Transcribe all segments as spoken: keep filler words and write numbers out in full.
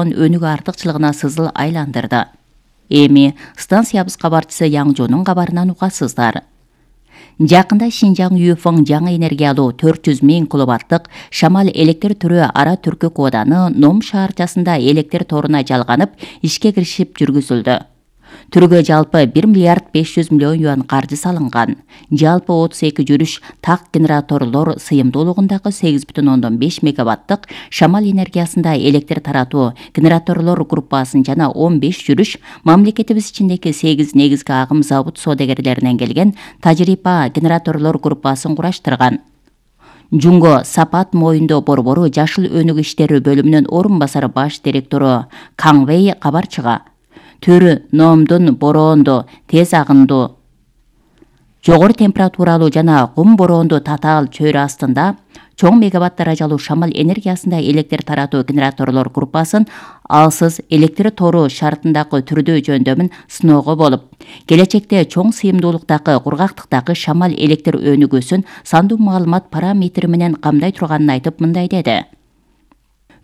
өнүгүү артыкчылыгына сызыл айландырды. Эми станциябыз кабарчысы Яңжонун кабарынан угасыздар. Жакында Шинжаң Юфeng жаңы энергиялуу төрт жүз миң киловаттык шамал электр түрү Ара Түркүк ооданы Ном шаарчасында электр торуна жалганып, ишке киришип жүргүзүлдү. Түргө жалпы бир миллиард беш жүз миллион юан каржы салынган. Жалпы отуз эки жүрүш так генераторлор сыйымдуулугундагы сегиз бүтүн ондон беш мегаваттык шамал энергиясында электр таратуу генераторлор группасын жана он беш жүрүш мамлекетибиз ичиндеги сегиз негизги агым завод соодагерлеринен келген тажрыйба генераторлор группасын кураштырган. Жунго Сапат моюндо борбору жашыл өнүгүү иштери бөлүмүнүн орун басары баш директору Каң Вэй кабарчыга түрү Номдун бороондуу, тез агындуу, жогору температуралуу жана кум бороондуу татаал чөйрө астында чоң мегаватт даражалуу шамал энергиясында электр таратуу генераторлор группасын алсыз электр тору шартындагы түрдүү жөндөмүн сыноого болуп, келечекте чоң сыйымдуулуктагы кургактыктагы шамал электр өнүгүүсүн сандуу маалымат параметри менен камдай турганын айтып мындай деди.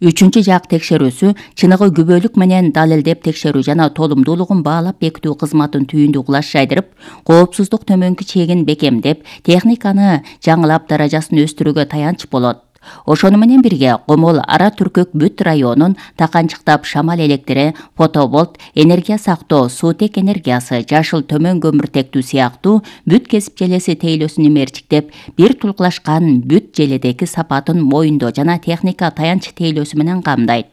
Үчүнчү жак текшерүүсү чыныгы күбөлүк менен далилдеп текшерүү жана толумдуулугун баалап бекитүү кызматын түйүндү кулаш жайдырып, коопсуздук төмөнкү чегин бекемдеп, техниканы жаңылап даражасын өстүрүүгө таянч болот. Ошону менен бирге Комол Ара Түркүк бүт районун таканчыктап шамал электри, фотоболт, энергия сактоо, суутек энергиясы, жашыл төмөн көмүртектүү сыяктуу бүт кесип желеси тейлөөсүн мерчиктеп, бир тулкулашкан бүт желедеги сапатын моюндоо жана техника таянч тейлөөсү менен камдайт.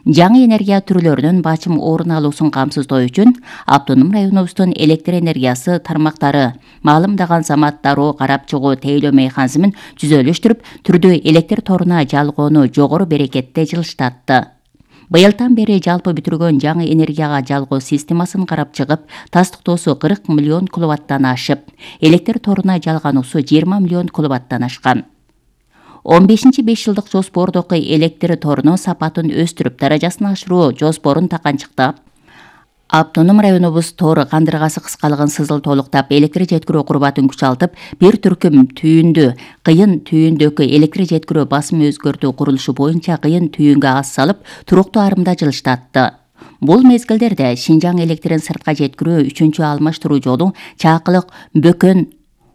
Жаңы энергия түрлөрүнүн бачым орун алуусун камсыздоо үчүн автоном районубуздун электр энергиясы тармактары маалымдаган замат дароо карап чыгуу тейлөө механизмин түзөлүштүрүп, түрдүү электр торуна жалгоону жогору берекетте жылыштатты. Быйылдан бери жалпы бүтүргөн жаңы энергияга жалгоо системасын карап чыгып, тастыктоосу кырк миллион киловаттан ашып, электр торуна жалгануусу жыйырма миллион киловаттан ашкан. он бешинчи беш жылдык жоспордогу электр торунун сапатын өстүрүп, даражасын ашыруу жоспорун таканчыктап, автоном районубуз тор кандыргасы кыскалыгын сызыл толуктап, электр жеткирүү курбатын күчалтып, бир түркүм түйүндү кыйын түйүндөгү электр жеткирүү басым өзгөртүү курулушу боюнча кыйын түйүнгө ас салып, туруктуу арымда жылыштатты. Бул мезгилдерде Шинжаң электрин сыртка жеткирүү үчүнчү алмаштыруу жолу Чакылык Бөкөн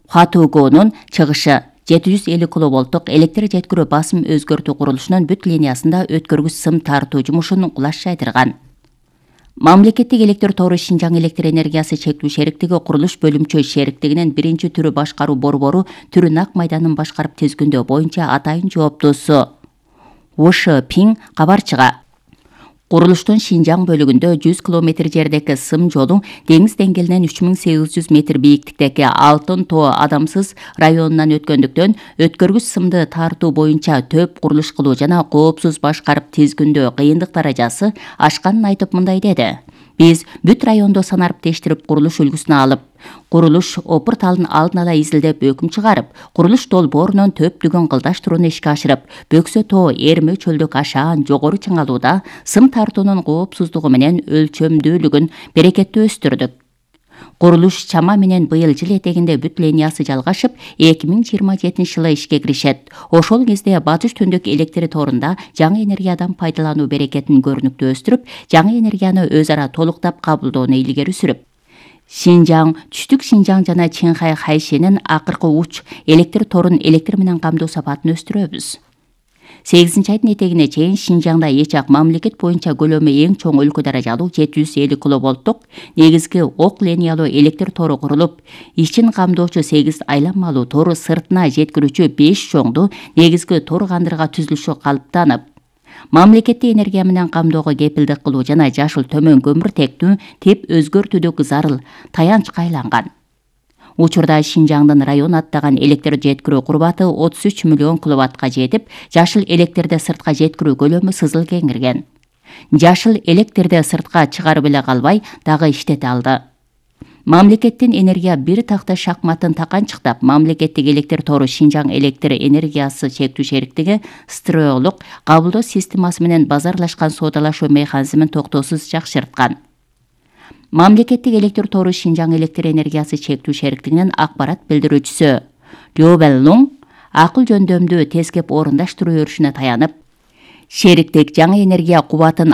Хатугонун чыгышы жети жүз элүү киловолттук электр жеткирүү басым өзгөртүү курулушунун бүт линиясында өткөргүч сым тартуу жумушун кулаш жайдырган. Мамлекеттик электр тору Шинжаң электр энергиясы чектүү шериктиги курулуш бөлүмчө шериктигинин биринчи түрү башкаруу борбору түрү Нак майданын башкарып тизгиндөө боюнча атайын жооптуусу Ош Пиң кабарчыга курулуштун Шинжаң бөлүгүндө жүз километр жердеги сым жолу деңиз деңгээлинен үч миң сегиз жүз метр бийиктиктеги Алтын Тоо адамсыз районунан өткөндүктөн өткөргүч сымды тартуу боюнча төп курулуш кылуу жана коопсуз башкарып тизгиндөө кыйындык даражасы ашканын айтып мындай деди. Биз бүт райондо санарып тештирип курулуш үлгүсүн алып, курулуш опурталын алдын ала изилдеп өкүм чыгарып, курулуш долбоорунун төптүгүн кылдаштырууну ишке ашырып, Бөксө Тоо Эрме чөлдүк ашаан жогору чыңалууда сым тартуунун коопсуздугу менен өлчөмдүүлүгүн берекеттүү өстүрдүк. Курулуш чама менен быйыл жыл этегинде бүт линиясы жалгашып, эки миң жыйырма жетинчи жылы ишке киришет. Ошол кезде батыш түндүк электр торунда жаңы энергиядан пайдалануу берекетин көрүнүктүү өстүрүп, жаңы энергияны өз ара толуктап кабылдоону илгери сүрүп, Шинжаң, Түштүк Шинжаң жана Чыңхай Хайшенин акыркы уч электр торун электр менен камдоо сапатын өстүрөбүз. сегизинчи айдын этегине чейин Шинжаңда эч ак мамлекет боюнча көлөмү эң чоң өлкө даражалуу жети жүз элүү киловолттук негизги ок линиялуу электр тору курулуп, ичин камдоочу сегиз айланмалуу тору сыртына жеткирүүчү беш чоңду негизги тор кандырга түзүлүшү калыптанып, мамлекетти энергия менен камдоого кепилдик кылуу жана жашыл төмөн көмүртектүү тип өзгөртүүдөгү зарыл таянчка айланган. Учурда Шинжаңдын район аттаган электр жеткирүү курбаты отуз үч миллион киловаттка жетип, жашыл электрди сыртка жеткирүү көлөмү сызыл кеңирген. Жашыл электрди сыртка чыгарып эле калбай, дагы иштете алды. Мамлекеттин энергия бир такта шахматын таканчыктап, мамлекеттик электр тору Шинжаң электр энергиясы чектүү шериктиги строолук кабылдоо системасы менен базарлашкан соодалашуу механизмин токтоосуз жакшырткан. Мамлекеттик электр тору Шинжаң электр энергиясы чектүү шериктигинин акпарат билдирүүчүсү Лёбеллуң акыл жөндөмдүү тескеп орундаштыруу өрүшүнө таянып, шериктик жаңы энергия кубатын